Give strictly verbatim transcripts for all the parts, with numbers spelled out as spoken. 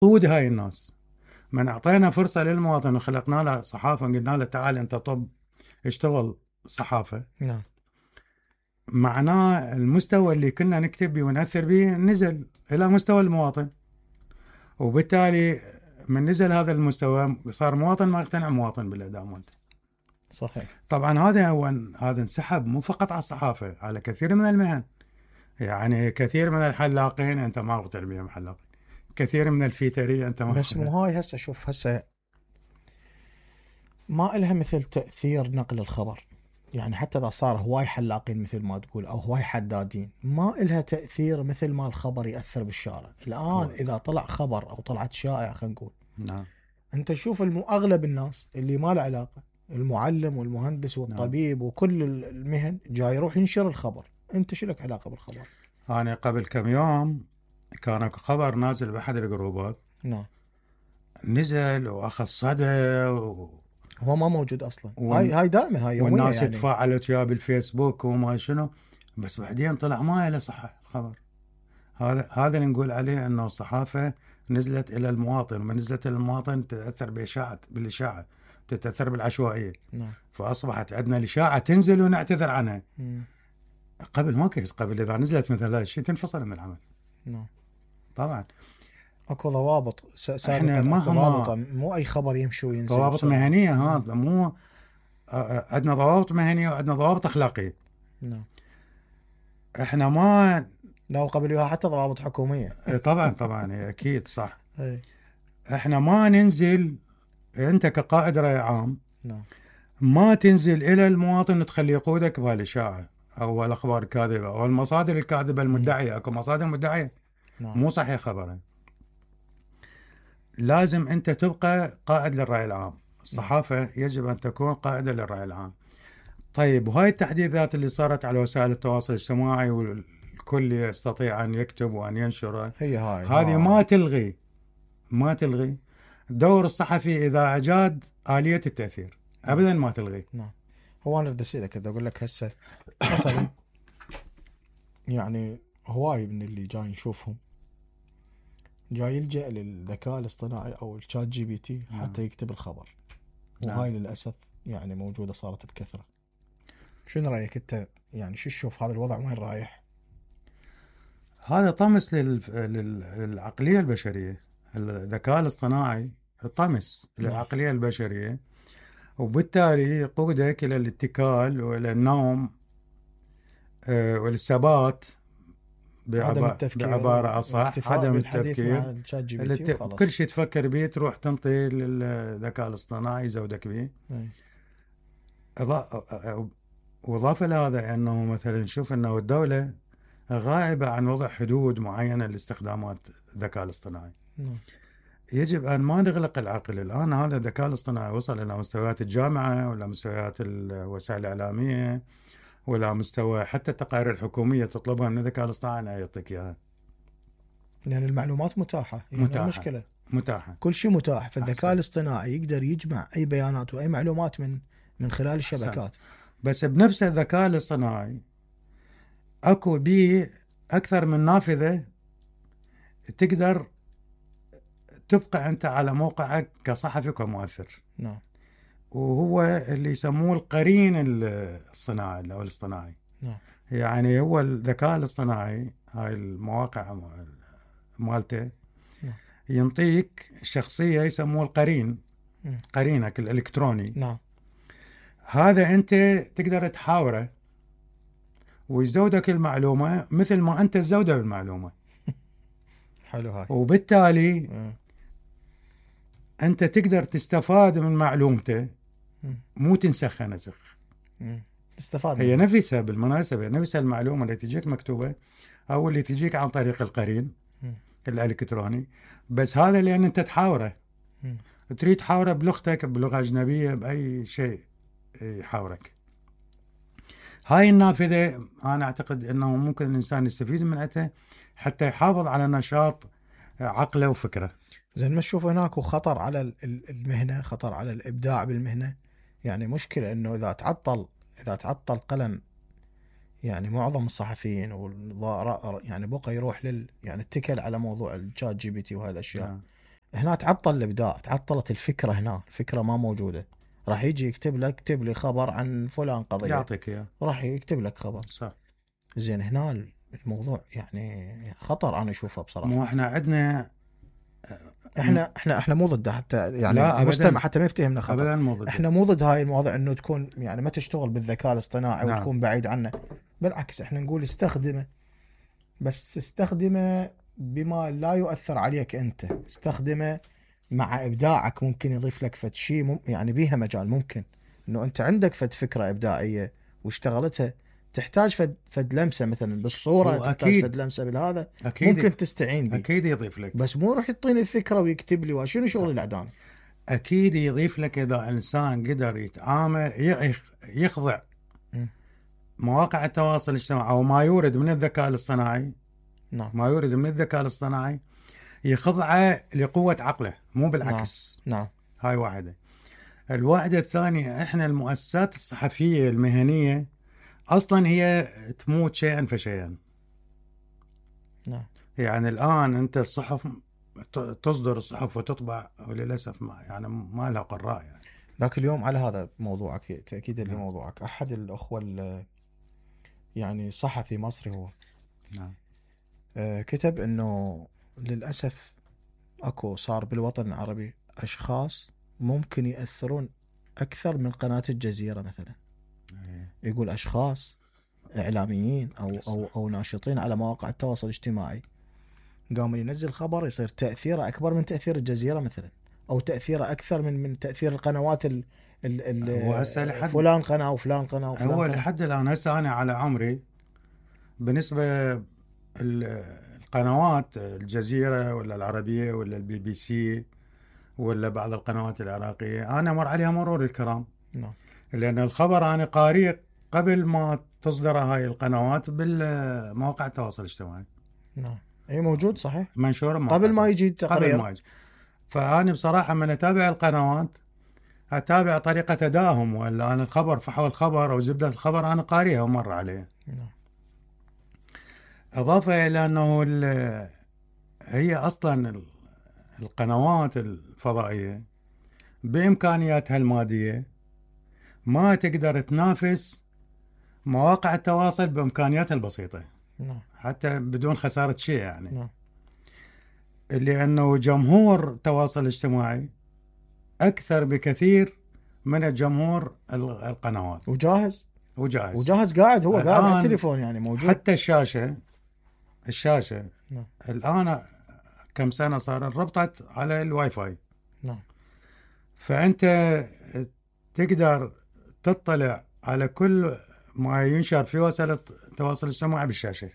قود هاي الناس. من أعطينا فرصة للمواطن وخلقنا له صحافة قلنا له تعال أنت طب اشتغل صحافة، نعم، معناه المستوى اللي كنا نكتب به ونأثر به نزل إلى مستوى المواطن، وبالتالي من نزل هذا المستوى صار مواطن ما يقتنع مواطن بالأداء مالته. صحيح. طبعا هذا هو هذا انسحب مو فقط على الصحافة، على كثير من المهن. يعني كثير من الحلاقين أنت ما مقتنع بهم حلاقين، كثير من الفيترية أنت ما بس مو هاي هسه شوف هسه ما إلها مثل تأثير نقل الخبر. يعني حتى إذا صار هواي حلاقين مثل ما تقول أو هواي حدادين ما إلها تأثير مثل ما الخبر يأثر بالشارع. الآن هو. إذا طلع خبر أو طلعت شائع خلينا نقول، نعم، أنت تشوف الم... أغلب الناس اللي ما له علاقة، المعلم والمهندس والطبيب نعم. وكل المهن جاي يروح ينشر الخبر. أنت شو لك علاقة بالخبر؟ أنا قبل كم يوم كان خبر نازل بأحد الجروبات، نعم، نزل وأخذ صدى و... هو ما موجود أصلا. ون... هاي هاي دائما هاي يومية والناس يعني. تفاعلت وياه بالفيسبوك وما شنو، بس بعدين طلع ما له صحة الخبر. هذا هذا اللي نقول عليه انه الصحافة نزلت الى المواطن، وما نزلت الى المواطن تتأثر بإشاعة بالإشاعة، تتأثر بالعشوائية. نعم. فأصبحت عندنا الإشاعة تنزل ونعتذر عنها. مم. قبل ما كيس، قبل إذا نزلت مثل هذا الشيء تنفصل من العمل. نعم. طبعا اكو ضوابط احنا مهما مو اي خبر يمشي وينزل. ضوابط مهنيه. هذا مو عندنا ضوابط مهنيه وعندنا ضوابط اخلاقيه. نعم. احنا ما لا قبل يوها حتى ضوابط حكوميه. طبعا طبعا اكيد صح. أي. احنا ما ننزل، انت كقائد رأي عام نعم. ما تنزل الى المواطن وتخلي يقودك بهالاشاعه او الاخبار الكاذبه او المصادر الكاذبه المدعيه. اكو مصادر مدعيه. نعم. مو صحيح خبرها. لازم أنت تبقى قائد للرأي العام. الصحافة يجب أن تكون قائدة للرأي العام. طيب، وهاي التحديثات اللي صارت على وسائل التواصل الاجتماعي والكل يستطيع أن يكتب وأن ينشر، هي هاي هذه ما تلغي ما تلغي دور الصحفي إذا أجاد آلية التأثير. أبدا ما تلغي. نعم. هو أنا بدي أسألك كذا أقول لك هسه مثلا يعني هواي من اللي جاي نشوفهم جاي يلجأ للذكاء الاصطناعي أو الشات جي بي تي حتى يكتب الخبر. وهاي للأسف يعني موجودة صارت بكثرة. شنو رأيك أنت؟ يعني شو تشوف هذا الوضع وين رايح؟ هذا طمس لل... لل... للعقلية البشرية. الذكاء الاصطناعي طمس للعقلية البشرية، وبالتالي يقودك إلى الاتكال وإلى النوم والثبات بعبارة أصح، عدم التفكير. كل شيء تفكر به تروح تنطي للذكاء الاصطناعي يزودك به. وإضافة لهذا أنه مثلا نشوف أنه الدولة غائبة عن وضع حدود معينة لاستخدامات الذكاء الاصطناعي. يجب أن ما نغلق العقل. الآن هذا الذكاء الاصطناعي وصل إلى مستويات الجامعة ولا مستويات الوسائل الإعلامية ولا مستوى حتى التقارير الحكومية تطلبها من الذكاء الاصطناعي أن يعطيك إياها. يعني المعلومات متاحة. يعني متاحة. المشكلة متاحة. كل شيء متاح. فالذكاء الاصطناعي يقدر يجمع أي بيانات وأي معلومات من من خلال الشبكات. أحسن. بس بنفس الذكاء الاصطناعي أكو به أكثر من نافذة تقدر تبقى أنت على موقعك كصحفي وكمؤثر. نعم. وهو اللي يسموه القرين الصناعي أو الاصطناعي. نعم. يعني هو الذكاء الاصطناعي هاي المواقع مالته نعم. ينطيك شخصية يسموه القرين. نعم. قرينك الإلكتروني. نعم. هذا أنت تقدر تحاوره ويزودك المعلومة مثل ما أنت تزوده بالمعلومة. حلو هاي. وبالتالي م. أنت تقدر تستفاد من معلومته، مو تنسخها نسخ. تستفاد. هي نفسها بالمناسبة، نفسها المعلومة اللي تجيك مكتوبة أو اللي تجيك عن طريق القرين م. الإلكتروني، بس هذا لأن أنت تحاوره. م. تريد تحاوره بلغتك، بلغة أجنبية، بأي شيء يحاورك. هاي النافذة أنا أعتقد أنه ممكن الإنسان يستفيد منها حتى يحافظ على نشاط عقله وفكره. زين، ما تشوف هناك خطر على المهنة، خطر على الإبداع بالمهنة؟ يعني مشكلة أنه إذا تعطل إذا تعطل قلم يعني معظم الصحفيين والضراء يعني بقى يروح لل يعني اتكل على موضوع الشات جي بي تي وهالأشياء. هنا تعطل الابداع، تعطلت الفكره، هنا الفكره ما موجوده. راح يجي يكتب لك اكتب لي خبر عن فلان قضيه، يعطيك اياه، راح يكتب لك خبر. صح. زين هنا الموضوع يعني خطر انا اشوفه بصراحه. مو احنا عندنا احنا احنا احنا مو ضده حتى يعني لا المستمع حتى ما يفتهمنا خطا. ابدا مو ضد. احنا مو ضد هاي المواضيع انه تكون يعني ما تشتغل بالذكاء الاصطناعي نعم. وتكون بعيد عنه. بالعكس احنا نقول استخدمه، بس استخدمه بما لا يؤثر عليك انت. استخدمه مع ابداعك، ممكن يضيف لك فد شيء مم يعني بيها مجال. ممكن انه انت عندك فد فكره ابداعيه واشتغلتها، تحتاج فد فد لمسه مثلا بالصوره، تحتاج فد لمسه بالهذا، أكيد ممكن تستعين به. اكيد يضيف لك، بس مو راح يعطيني الفكره ويكتب لي وشنو شغل الاعدام. اكيد يضيف لك اذا انسان قدر يتعامل يخضع م. مواقع التواصل الاجتماعي او ما يورد من الذكاء الاصطناعي. نعم. ما يورد من الذكاء الاصطناعي يخضعه لقوه عقله، مو بالعكس. نعم. نعم. هاي واحده. الواحده الثانيه، احنا المؤسسات الصحفيه المهنيه اصلا هي تموت شيئا فشيئا. نعم. يعني الان انت الصحف تصدر الصحف وتطبع، وللاسف ما يعني ما لها قراء يعني. ذاك اليوم على هذا موضوعك تاكيدا نعم. لموضوعك، احد الاخوه يعني صحفي مصري هو، نعم. آه كتب انه للاسف اكو صار بالوطن العربي اشخاص ممكن ياثرون اكثر من قناه الجزيره مثلا. أيه. يقول اشخاص اعلاميين او او او ناشطين على مواقع التواصل الاجتماعي قام ينزل خبر يصير تاثيره اكبر من تاثير الجزيره مثلا، او تاثيره اكثر من من تاثير القنوات ال ال ال فلان قناه وفلان قناه وفلان هو قناة. لحد الان هسه انا على عمري بالنسبه القنوات الجزيره ولا العربيه ولا البي بي سي ولا بعض القنوات العراقيه انا مر عليها مرور الكرام. نعم. لان الخبر انا قارئ قبل ما تصدر هاي القنوات بالمواقع التواصل الاجتماعي. نعم. اي موجود صحيح، منشور قبل ما يجي التقرير. قبل ما يجي. فانا بصراحه من اتابع القنوات اتابع طريقه ادائهم، ولا انا الخبر فحوى الخبر او زبده الخبر انا قارئها ومر عليها. نعم. اضافه الى انه هي اصلا القنوات الفضائيه بامكانياتها الماديه ما تقدر تنافس مواقع التواصل بامكانياتها البسيطه. نعم. حتى بدون خساره شيء يعني. نعم. لانه جمهور التواصل الاجتماعي اكثر بكثير من الجمهور القنوات. وجاهز وجاهز وجاهز قاعد هو قاعد على التليفون يعني موجود. حتى الشاشه الشاشه نعم. الان كم سنه صار ربطت على الواي فاي. نعم. فانت تقدر تطلع على كل ما ينشر في وسائل التواصل الاجتماعي بالشاشه.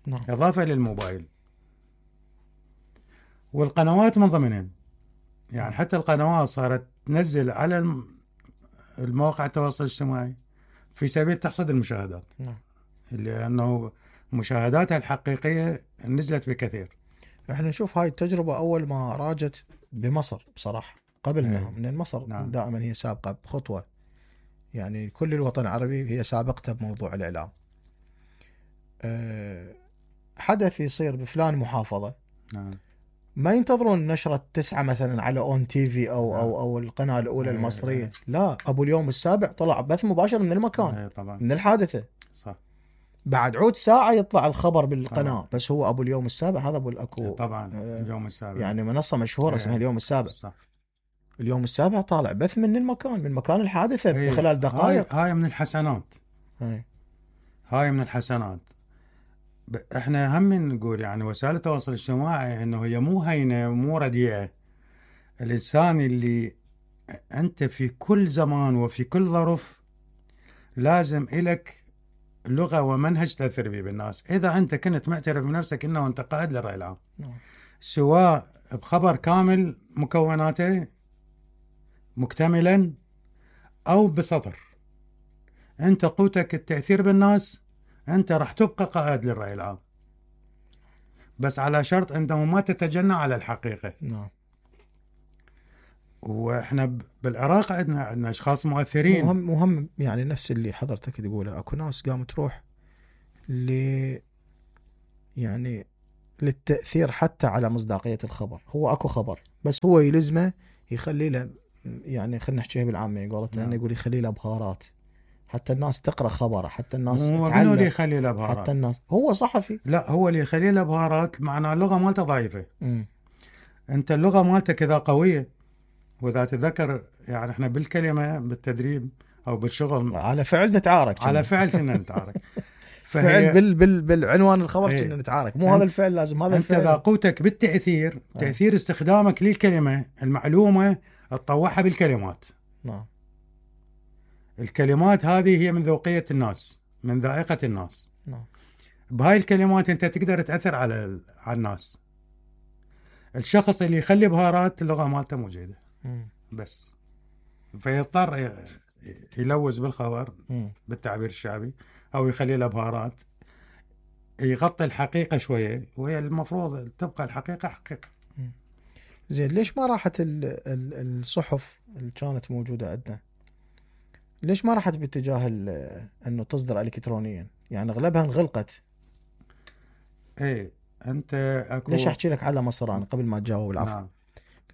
نعم. اضافه للموبايل والقنوات من ضمنهم. يعني حتى القنوات صارت تنزل على المواقع التواصل الاجتماعي في سبيل تحصيل المشاهدات. نعم. لأنه مشاهداتها الحقيقية نزلت بكثير. احنا نشوف هاي التجربة أول ما راجت بمصر بصراحة قبلنا. نعم. من مصر نعم. دائما هي سابقة بخطوة، يعني كل الوطن العربي هي سابقته بموضوع الإعلام. أه حدث يصير بفلان محافظة. نعم. ما ينتظرون نشرة تسعة مثلا على اون تي في او نعم. او او القناة الأولى أيه المصرية. أيه. لا، ابو اليوم السابع طلع بث مباشر من المكان. أيه طبعا. من الحادثة. صح. بعد عود ساعة يطلع الخبر بالقناة. طبعا. بس هو ابو اليوم السابع، هذا ابو الاكو طبعا. آه اليوم السابع يعني منصة مشهورة اسمها اليوم السابع. صح. اليوم السابع طالع بث من المكان من مكان الحادثة أيه. بخلال دقائق. هاي, هاي من الحسنات. أيه. هاي من الحسنات. احنا هم نقول يعني وسائل التواصل الاجتماعي انه هي مو هينه ومو رديئه. الانسان اللي انت في كل زمان وفي كل ظرف لازم إلك لغه ومنهج تاثر به بالناس. اذا انت كنت معترف بنفسك انه انت قائد للراي العام، سواء بخبر كامل مكوناته مكتملا او بسطر، انت قوتك التاثير بالناس، انت راح تبقى قائد للرأي العام، بس على شرط انه ما تتجنى على الحقيقة. نعم. واحنا بالعراق عندنا عندنا اشخاص مؤثرين. مهم مهم يعني نفس اللي حضرتك تقوله. اكو ناس قامت تروح ل يعني للتأثير حتى على مصداقية الخبر. هو اكو خبر بس هو يلزمه يخلي له، يعني خلينا نحكيها بالعامية قولتها، انه يقول يخلي له بهارات حتى الناس تقرأ خبره، حتى الناس هو تعلم. منو اللي يخلي له بهارات؟ حتى الناس، هو صحفي. لا، هو اللي يخلي له بهارات معناه اللغة مالته ضعيفة. م. انت اللغة مالتك اذا قوية، واذا تذكر يعني احنا بالكلمة بالتدريب او بالشغل على فعل نتعارك، على فعل كنا نتعارك. فعل بال بال بالعنوان الخبر كنا نتعارك، مو هذا الفعل لازم هذا الفعل. انت اذا قوتك بالتأثير، اه. تأثير استخدامك للكلمة، المعلومة تطوعها بالكلمات. نعم. الكلمات هذه هي من ذوقية الناس، من ذائقة الناس. نعم. بهاي الكلمات انت تقدر تأثر على على الناس. الشخص اللي يخلي بهارات اللغة مالته مو جيدة بس، فيضطر يلوز بالخبر م. بالتعبير الشعبي، او يخلي له بهارات يغطي الحقيقة شوية، وهي المفروض تبقى الحقيقة حقيقة. زين، ليش ما راحت الصحف اللي كانت موجودة عندنا، ليش ما راحت باتجاه انه تصدر الكترونيا؟ يعني اغلبها انغلقت. ايه انت أكو... ليش احكي لك على مصر انا قبل ما تجاوب العفو؟ نعم.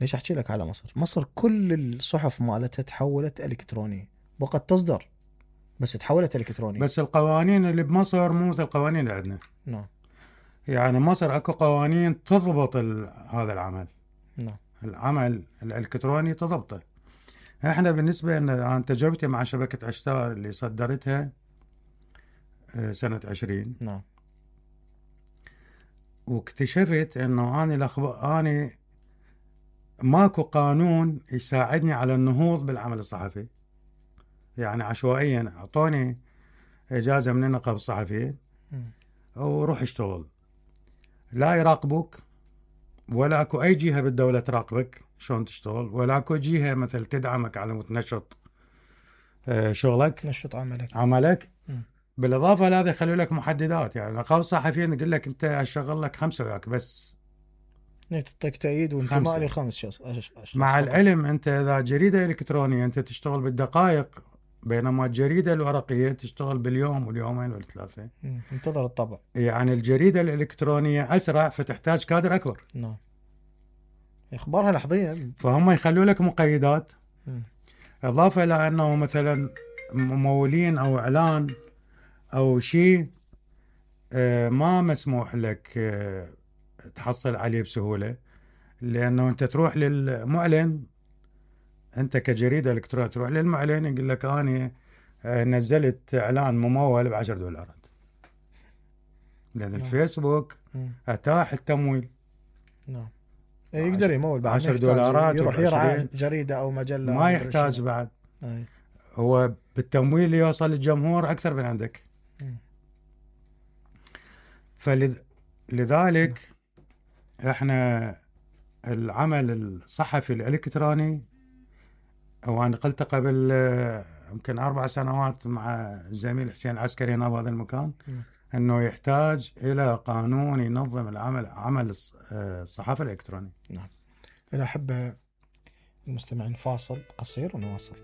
ليش احكي لك على مصر؟ مصر كل الصحف مالتها تحولت الكترونية، بقت تصدر بس تحولت الكترونية. بس القوانين اللي بمصر مو مثل القوانين اللي عندنا. نعم. يعني مصر اكو قوانين تضبط ال... هذا العمل. نعم. العمل الالكتروني تضبطه. احنا بالنسبة عن تجربتي مع شبكة عشتار اللي صدرتها سنة عشرين. نعم. واكتشفت انه اني الاخبار اني ماكو قانون يساعدني على النهوض بالعمل الصحفي. يعني عشوائيا اعطوني اجازة من نقابة الصحفيين وروح اشتغل، لا يراقبوك ولا اكو اي جهة بالدولة تراقبك شلون تشتغل، ولا اكو جهة مثل تدعمك على متنشط شغلك، نشط عملك عملك م. بالاضافة لهذا يخلوا لك محددات. يعني نقابة الصحفيين يقول لك انت اشغل لك خمسة وياك بس، تعطيك تأييد وانتماء لخمس شخص. مع العلم انت اذا جريدة الكترونية انت تشتغل بالدقائق، بينما الجريدة الورقية تشتغل باليوم واليومين والثلاثة. انتظر الطبع. يعني الجريدة الإلكترونية أسرع فتحتاج كادر أكبر. نعم. إخبارها لحظيا. فهم يخلوا لك مقيدات. م. إضافة إلى أنه مثلا ممولين أو إعلان أو شيء ما مسموح لك تحصل عليه بسهولة، لأنه أنت تروح للمعلن، أنت كجريدة إلكترونية تروح للمعلن يقول لك أنا نزلت إعلان ممول بعشر دولارات، لأن نعم. الفيسبوك م. أتاح التمويل. نعم. يقدر يمول بعد عشر دولارات، يروح يرعى جريدة أو مجلة، ما يحتاج بعد. أي. هو بالتمويل يوصل للجمهور أكثر من عندك. فلذلك احنا العمل الصحفي الإلكتروني، وأنا قلت قبل يمكن أربع سنوات مع الزميل حسين عسكري هنا بهذا المكان م. أنه يحتاج إلى قانون ينظم العمل عمل الصحافة الإلكترونية. نعم. أنا أحب المستمعين فاصل قصير ونواصل.